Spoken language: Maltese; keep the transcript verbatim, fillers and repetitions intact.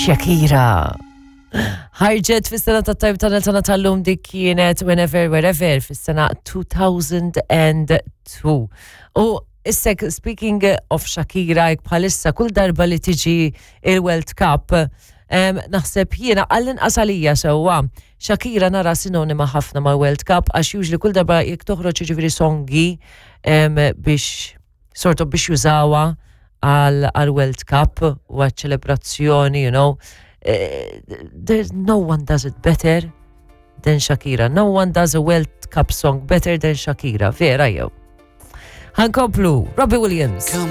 Shakira. Ħarġet fis-sena ta' tajb tagħna tagħna tal-lum, dik kienet Whenever Wherever fis-sena elfejn u tnejn. U issa, speaking of Shakira, jek bħalissa kull darba li tiġi il-World Cup, em, naħseb jiena, għall-inqas għalija sewwa, Shakira nara sinonima ħafna mal World Cup, għax usually kull darba jekk toħroġ, jiġifieri, songi em, biex sort of biex jużawha għal għal World Cup u għal ċelebrazzjoni, you know. Eh, there's no one does it better than Shakira. No one does a World Cup song better than Shakira. Vera jew. Ħa nkomplu, Robbie Williams. Come